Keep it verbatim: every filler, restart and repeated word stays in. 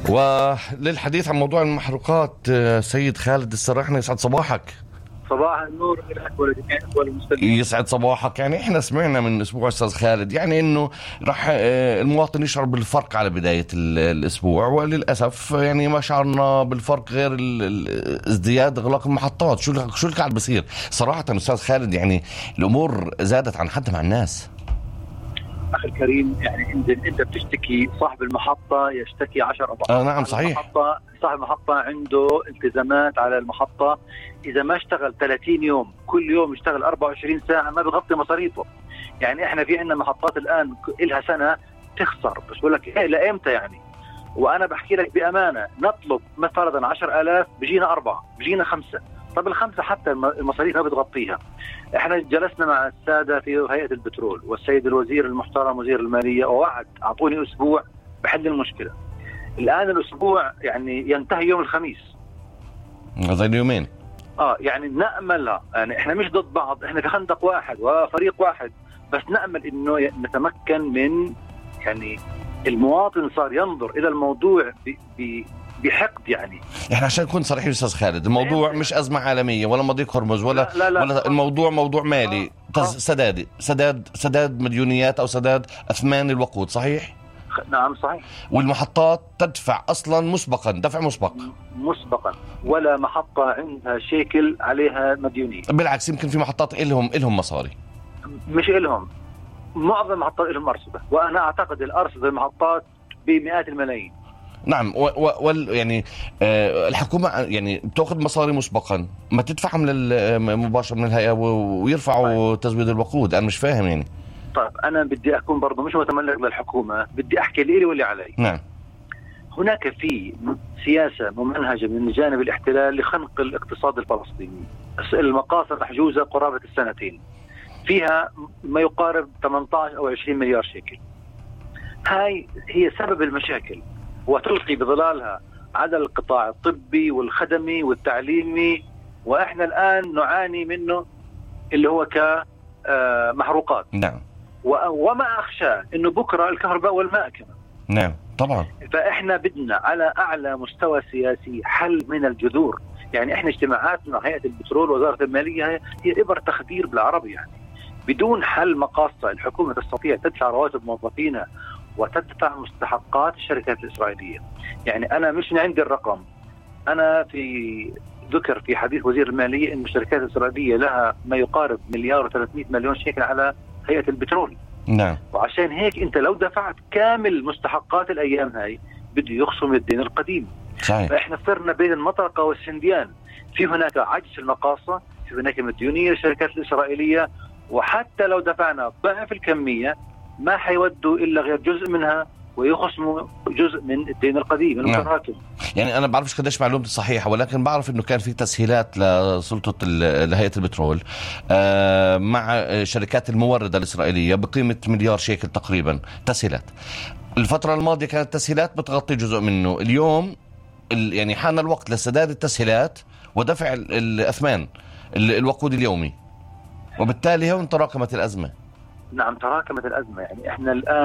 وللحديث عن موضوع المحروقات سيد خالد السراحني، يسعد صباحك. صباح النور لك ولجميع المستمعين. يسعد صباحك. يعني احنا سمعنا من اسبوع استاذ خالد يعني انه راح المواطن يشعر بالفرق على بداية الاسبوع، وللاسف يعني ما شعرنا بالفرق غير ازدياد اغلاق المحطات. شو شو اللي قاعد بصير صراحة استاذ خالد؟ يعني الامور زادت عن حد مع الناس. اخي الكريم، يعني انت انت بتشتكي، صاحب المحطة يشتكي عشر اضعاف. آه نعم صحيح. المحطة صاحب المحطة عنده التزامات على المحطة، اذا ما اشتغل ثلاثين يوم كل يوم يشتغل أربعة وعشرين ساعة ما بغطي مصاريفه. يعني احنا في عندنا محطات الان لها سنة تخسر، بس بقول لك ايه لامتى يعني؟ وانا بحكي لك بامانة، نطلب مثلا عشر آلاف بيجينا أربعة، بيجينا خمسة. طب الخمسة حتى المصاريف ما بتغطيها. احنا جلسنا مع السادة في هيئة البترول والسيد الوزير المحترم وزير المالية، ووعد اعطوني اسبوع بحل المشكلة. الان الاسبوع يعني ينتهي يوم الخميس، زي اليومين. اه يعني نأملها، يعني احنا مش ضد بعض، احنا في خندق واحد وفريق واحد، بس نأمل انه نتمكن من يعني المواطن صار ينظر الى الموضوع ب ب بحقد. يعني احنا عشان نكون صريحين استاذ خالد، الموضوع مش ازمه عالميه ولا مضيق هرمز ولا لا لا لا ولا الموضوع موضوع مالي. آه. سداد سداد سداد مديونيات او سداد اثمان الوقود. صحيح. نعم صحيح. والمحطات تدفع اصلا مسبقا، دفع مسبق مسبقا، ولا محطه عندها شيكل عليها مديونيه. بالعكس، يمكن في محطات إلهم إلهم مصاري. مش إلهم، معظم المحطات إلهم أرصدة، وأنا أعتقد الأرصدة المحطات بمئات الملايين. نعم. وال يعني آه الحكومة يعني بتأخذ مصاري مسبقا، ما تدفعها من مباشرة من الهيئة ويرفعوا طيب. تزويد الوقود. أنا مش فاهم يعني. طيب أنا بدي أكون برضو مش متملك للحكومة، بدي أحكي لي واللي علي. نعم. هناك في سياسة ممنهجة من جانب الاحتلال لخنق الاقتصاد الفلسطيني. المقاصة محجوزة قرابة السنتين، فيها ما يقارب ثمانية عشر أو عشرين مليار شيكل. هاي هي سبب المشاكل، وتلقي بظلالها على القطاع الطبي والخدمي والتعليمي، وإحنا الآن نعاني منه اللي هو كمحروقات. نعم. وما أخشى إنه بكرة الكهرباء والماء كمان. نعم طبعا. فإحنا بدنا على أعلى مستوى سياسي حل من الجذور. يعني إحنا اجتماعاتنا هيئة البترول ووزارة المالية هي إبر تخدير بالعربي. يعني بدون حل مقاصة الحكومة تستطيع تدفع رواتب موظفينها وتدفع مستحقات الشركات الإسرائيلية. يعني أنا مش عندي الرقم، أنا في ذكر في حديث وزير المالية إن الشركات الإسرائيلية لها ما يقارب مليار وثلاثمائة مليون شيكل على هيئة البترول. نعم. وعشان هيك أنت لو دفعت كامل مستحقات الأيام هاي بده يخصم الدين القديم. صحيح. فإحنا صرنا بين المطرقة والسنديان، في هناك عجز في المقاصة، في هناك مديونية للشركات الإسرائيلية، وحتى لو دفعنا ضعف الكمية ما حيودوا إلا غير جزء منها ويخصموا جزء من الدين القديم المتراكم. نعم. يعني أنا بعرفش قديش معلومتي صحيحة، ولكن بعرف إنه كان في تسهيلات لسلطة لهيئة البترول مع شركات الموردة الإسرائيلية بقيمة مليار شيكل تقريبا تسهيلات. الفترة الماضية كانت تسهيلات بتغطي جزء منه. اليوم يعني حان الوقت لسداد التسهيلات ودفع الأثمان الوقود اليومي، وبالتالي هون تراكمت الأزمة. نعم تراكمت الأزمة. يعني إحنا الآن